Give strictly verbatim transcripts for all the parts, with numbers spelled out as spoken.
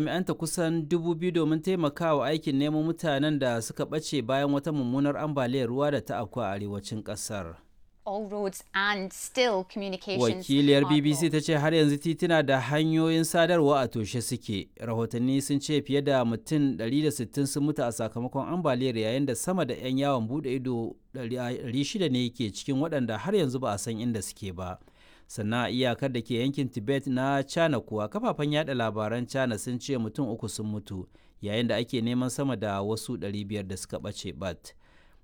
Jami'anta kusan dubu biyu domin taimakawa aikin nemo mutanen da suka ɓace bayan wata mummunar ambaliyar ruwa da ta afku a arewacin ƙasar. All roads and still communications Wakiliyar are B B C blocked. ta ce har yanzu tituna da hanyoyin sadarwa a toshe suke. Rahotanni sun ce fiye da mutum ɗari da sittin sun mutu a sakamakon ambaliyar, yayin da sama da 'yan yawon bude ido ɗari shida ne ke cikin waɗanda har yanzu ba a san inda suke ba. Sannan a iyakar da ke yankin Tibet na China kuwa, kafafen yada labaran China sun ce mutum uku sun mutu yayin da ake neman sama da wasu ɗari biyar da suka ɓace bat.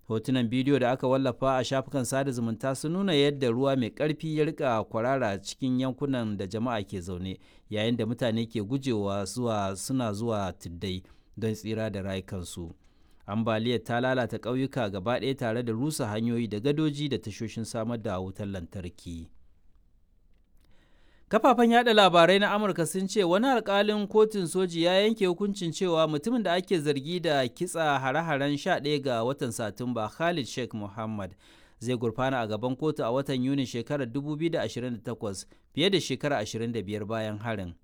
Hotunan bidiyo da aka wallafa a shafukan sada zumunta sun nuna yadda ruwa mai ƙarfi ya rika kwarara cikin yankunan da jama'a ke zaune, yayin da mutane ke gujewa zuwa suna zuwa tuddai don tsira da rayukansu. Ambaliyar ta lalata ƙauyuka gaba ɗaya tare da rusa hanyoyi da gadoji da tashoshin samar da wutar lantarki. Kafafen yada labarai na Amurka sun ce wani alkalin kotun soji ya yanke hukuncin cewa mutumin da ake zargi da kitsa hare-haren sha ɗaya ga watan Satumba, Khalid Sheikh Mohammed, zai gurfana a gaban kotu a watan Yuni shekarar dubu biyu da ashirin da takwas, fiye da shekara ashirin da biyar bayan harin.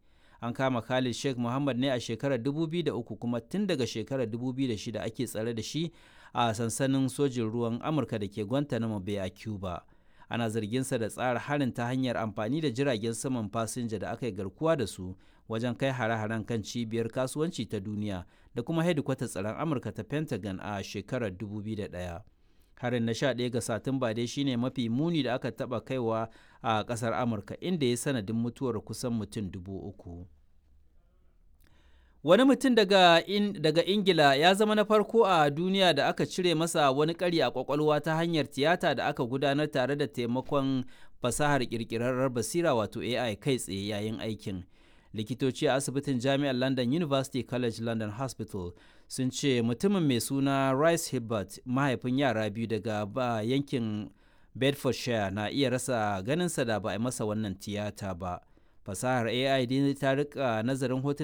An kama Khalid Sheikh Mohammed ne a shekarar dubu biyu da uku, kuma tun daga shekarar dubu biyu da shida ake tsare da shi a sansanin sojin ruwan Amurka da ke Guantanamo Bay a Cuba. Ana zarginsa da tsara harin ta hanyar amfani da jiragen saman fasinja da aka yi garkuwa da su wajen kai hare-haren kan Cibiyar Kasuwanci ta Duniya da kuma hedikwatar tsaron Amurka ta Pentagon a shekarar dubu biyu da ɗaya. Harin na sha ɗaya ga Satumba dai shine mafi muni da aka taba kaiwa a kasar Amurka, inda ya sanadin mutuwar kusan mutum dubu uku. Wani mutum daga, in, daga Ingila ya zama na farko a duniya da aka cire masa wani ƙari a ƙwaƙwalwa ta hanyar tiyata da aka gudanar tare da taimakon fasahar ƙirƙirarrar basira, wato A I, kai tsaye yayin aikin. Likitoci a asibitin Jami'ar London, University College London Hospital, sun ce mutumin mai suna Rice Hibbert, mahaifin yara biyu daga ba yankin Bedfordshire, na iya rasa ganinsa da ba a masa wannan tiyata ba. Fasahar A I dai ta rika nazarin hotunan